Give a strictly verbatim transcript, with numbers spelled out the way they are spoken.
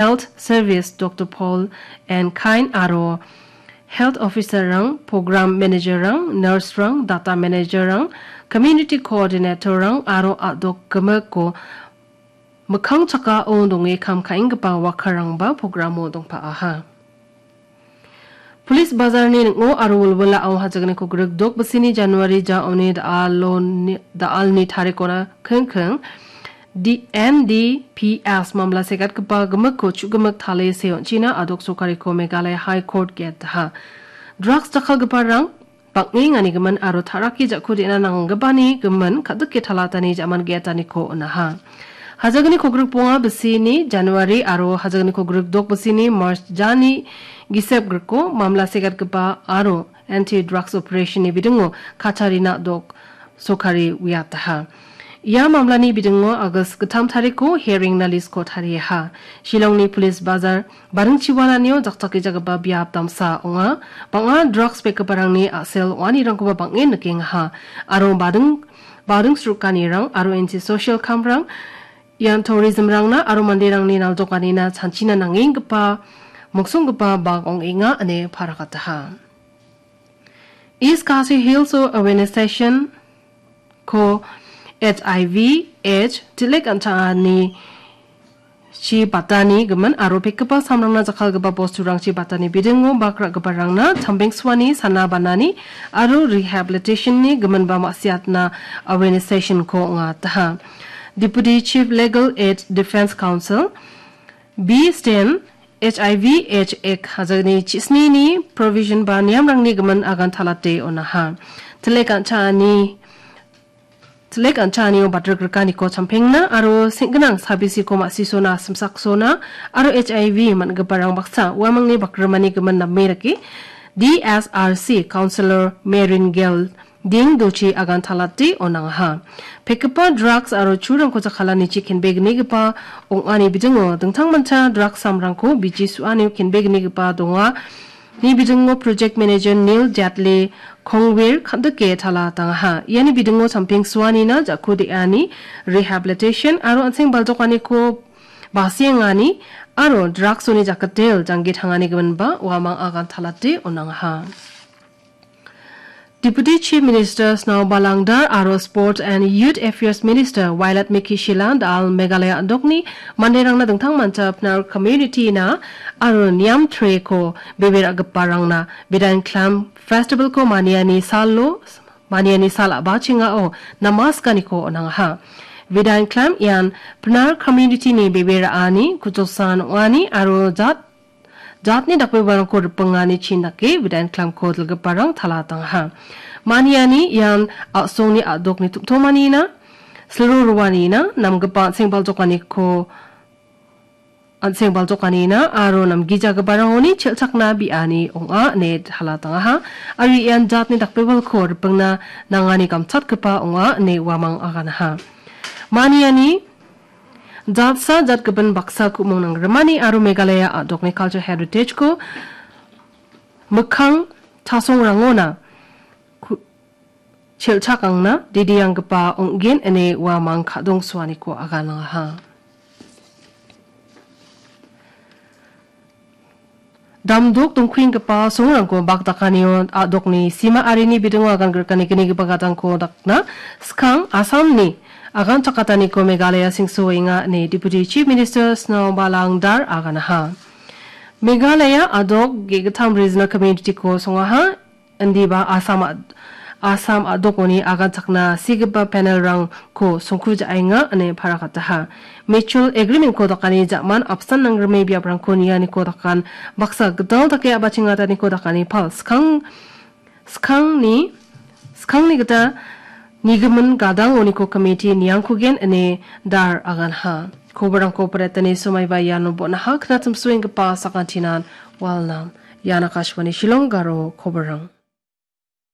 Health Service Doctor Paul and Kain aro Health Officer-rang, Program Manager-rang, Nurse-rang, Data Manager-rang, Community Coordinator-rang aro a·dok gimikko mikkang chakao donge kam ka·enggipa worker-rangba programo dongpa·aha. Police Bazarni ning·o aro wilwilao hajagniko grik dok bisini January jaoni da·aloni, da·alni tarikona kingking D N D P S mamla segatgipa gimikko chu·gimik tale seonchina a·dok sorkariko Meghalaya High Court gate daha. Drugs jakkalgiparang bang·enganigimin aro taraki ja·ko de·na nanggipani gimin ka·dike talatani ja·man ge·etaniko on·aha. Hajagni kogrik bonga bisini January aro hajagni kogrik dok bisini March jani gisep griko mamla segatgipa aro anti-drugs operation-ni bidingo kacharina dok sokari uiataha. Ia mamlani bidingo August gittam tariko hearing-na list-ko tariaha. Shillongni Police Bazar baringchiwalanio jakjakgijagipa biap damsa ong·a. Bang·a drugs pekgiparangni a·sel ong·anirangkoba bang·en nikengaha. Aro bading, bading srukanirang aro anti-social camp-rang ian tourism-rangna aro manderangni naldokanina chanchina nangenggipa, mongsonggipa bak ong·enga ine parakataha. East Khasi Hills-o awareness session-ko H I V, H, tilik an·changani chi batani gimin aro pekgipa samrangna jakkalgipa bosturangchi batani bidingo bak ra·giparangna chambengsuani sana banani aro rehabilitation-ni giminba ma·siatna awareness session-ko ong·ataha. Deputy Chief Legal Aid Defense Counsel B Stan H I V H Act hajagni chisnini provision ba niamrangni gimin agan talate on·aha. Tilik an·chani, tilik an·chanio batrikrikaniko champengna aro seng·ginang sabisiko ma·sisona, simsaksona aro H I V man·giparang baksa uamangni bakrimani gimin name dake D S R C Councillor Marin Gel ding dochi agan talate on·angaha. Pekgipa drugs aro churangko jakkalanichi kenbegnigipa ong·ani bidingo dingtangmancha drugs samrangko biji su·anio kenbegnigipa donga. Ni bidingo Project Manager Neil Jatle Kongwir kan·dike tala tangaha. Iani bidingo champeng suanina jako de·ani, rehabilitation aro an·seng baljokaniko basiengani aro drugs-oni jakkitel janggi tangani giminba uamang agan talate on·angaha. Deputy Chief Minister Snao Balangdar aro Sport and Youth Affairs Minister Wailadmiki Shylla da·al Meghalaya a·dokni manderangna dingtangmancha Pnar community-na aro Niam Tre-ko bebe ra·giparangna Bidain Klam Festival-ko maniani salo, maniani sal a·bachengao namaskaniko on·angaha. Bidain Klam ian Pnar community-ni bebe ra·ani, kuchosan ong·ani aro jat jatni dakbebarangko ripingani chin dake Bidain Klamko dilgiparang tala tangaha. Maniani ian a·songni a·dokni tom·tomanina, silro roanina, namgipa an·seng baljokaniko, an·seng baljokanina aro namgijagiparangoni chel·chakna bi·ani ong·a ine tala tangaha. Aro ian jatni dakbebalko ripingna nangani gamchatgipa ong·a ine uamang aganaha. Maniani jatsa jatgimin baksa ku·mong nanggrimani aro Meghalaya a·dokni culture heritage-ko mikkang chasongrangona ku-, chel·chakangna didianggipa ong·gen ine uamang ka·dongsoaniko aganangaha. Damdok dongkuenggipa songrangko bakdakanio a·dokni sima arini bidingo agan grikani gnigipa gadangko dakna skang Assamni agan chakataniko Meghalaya singsoenga ine Deputy Chief Minister Snao Balangdar aganaha. Meghalaya a·dok ge·gittam regional community-ko songaha. Indiba Assam a-, Assam a·dokoni aganchakna sigipa panel-rangko songkujaenga ine parakataha. Mutual agreement-ko dakani ja·man apsan nangrime biaprangko nianiko dakan baksa gital dake a·bachengataniko dakani pal skang, skangni, skangni gita nigimin gadangoniko committee niangkugen ine dar aganha. Koborangko paretani somaiba iano bon·aha knatimsoenggipa sakantinan walnam. Ian Akashvani Shillong Garo koborang.